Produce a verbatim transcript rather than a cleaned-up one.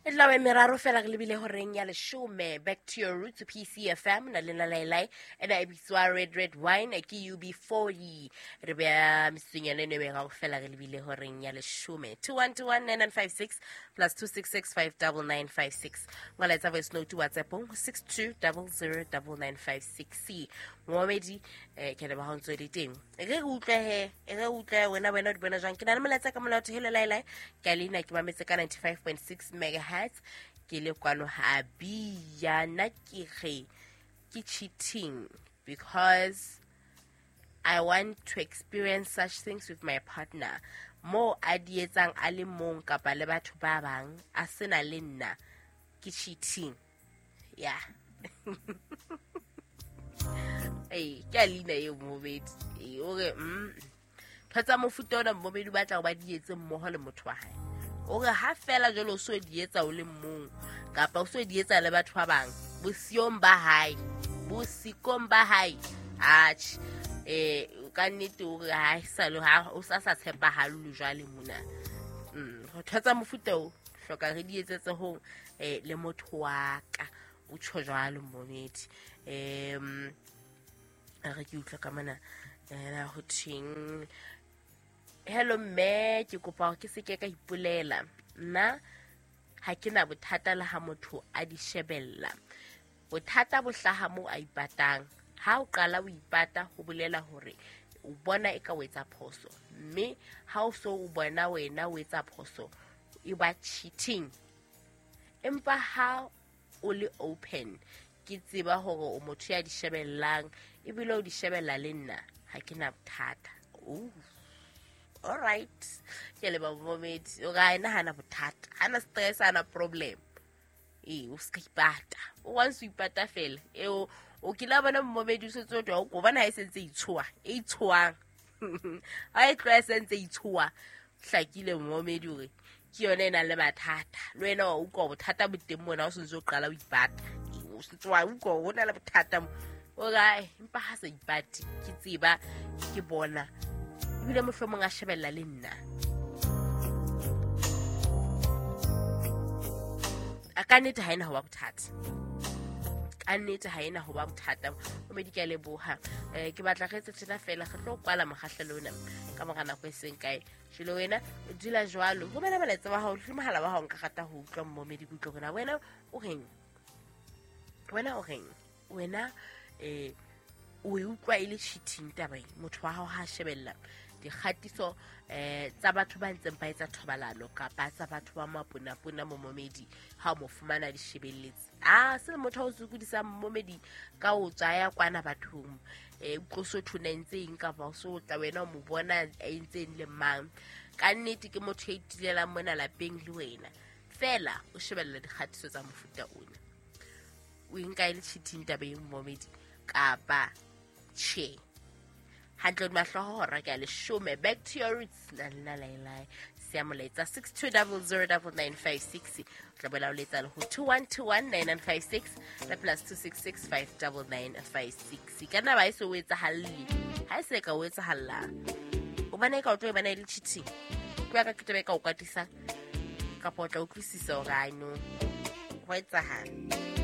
E tla ba meraro fela re lebile horeng ya leshome. Back to your roots, P C F M na le Lailai ena e bitswa Red Red Wine ke U B forty. Re beya metsotsong eno e meraro fela re lebile horeng ya leshome. two one two one nine nine five six plus two six six five nine nine five six. Ngwaletsa voice note WhatsApp six two zero zero nine nine five six. Momedi eh ke le ba ho ntso le teng. Re re utlwe he, re utlwe wena wena o di bona jwang. Ke na le molaetsa ka molato hello Lailai. Ke a leina ke mametse ka ninety-five point six megahertz. Ke le kwano ha bia nna ke re ke cheating because I want to experience such things with my partner. Mo a di etsang a le mong kapa le batho ba bang a sena le nna ke cheating. Yeah. Hey, ke a leina eo momedi. Eh o re mm ntho tsa mofuta ona momedi o batla ho ba di etse mmoho le motho wa hae. O re ha fela jwalo o so di etsa o le mong kapa o so di etsa le batho ba bang bosiong ba hae, bosikong ba hae. Atjhe, eh ka nnete o re ha sa le ha o sa sa tshepahale jwale mona. Mm ntho tsa mofuta o hloka re di etsetse ho eh le motho wa ka o tjho jwalo momedi. Em re ke utlwa ka mona eh ho theng. Hello mme, ke kopa hore ke se ke ka ipolela. Nna ha ke na bothata le ha motho a di shebella. Bothata bo hlaha moo a ipatang. Ha o qala o ipata ho bolela hore o bona e ka o etsa phoso. Mme ha o so o bona wena o etsa phoso, e ba cheating. Empa ha o le open, ke tseba hore o motho ya di shebellang ebile o di shebella le nna, ha ke na bothata. Oh. All right. Ke le ba momedi. O ga ena hana bothata. Hana stress, hana problem. Eh, o ska ipata. O once o ipata fela. E o o kila bona momedi o setse o twa o bona ha e sentse itshoa. E itshoang. Ha e tloha e sentse itshoa. Hlakile momedi hore ke yona e nang le mathata. Le wena wa utlwa bothata bo teng mona o sentse o qala o ipata. O sentse wa utlwa ho na le bothata mo. O ga empa ha sa ipate ke tseba ke bona. Ebile mohlomong a shebella le nna. A ka nnete ha ena ho ba bothata. Ka nnete ha ena ho ba bothata. O medi ke a leboha. Eh ke batla re etse tjena fela re tlo kwala mokgahlelo ona ka mora nako e seng kae. Jwale wena o dula jwalo. Romela molaetsa wa hao, le mohala wa hao nka rata ho utlwa momedi ke utlwe hore wena o reng. Wena o reng? Wena eh o e utlwa e le cheating taba e. Motho wa hao ha shebella dikgatiso eh tsa batho ba ntseng ba etsa thobalano kapa tsa batho ba maponapona momedi ha o mo fumana di shebelletse. Ah se motho o sokodisa momedi ka o tsaya kwana bathong eh utlwe so thona ntse eng kapa o so tla wena o mo bona a entseng le mang. Ka nnete ke motho ya itilelang mona lapeng le wena fela o shebella dikgatiso tsa mofuta ona. O nka e le cheating taba e momedi kapa che. Hantle mahloho hora ke a leshome. Back to your roots na la la la siya molaetsa six two zero zero nine nine five six. O tla boela o letsa le ho two one two one nine nine five six le plus two six six five nine nine five six. Ka nna ba e se o etsahalle. Ha e se ka o etsahalla. O bana e ka o tlo e bana e le cheating. Ke ya ka ke tebe ka o kwatisang kapa o tla utlwisisa hore I know ho etsahala.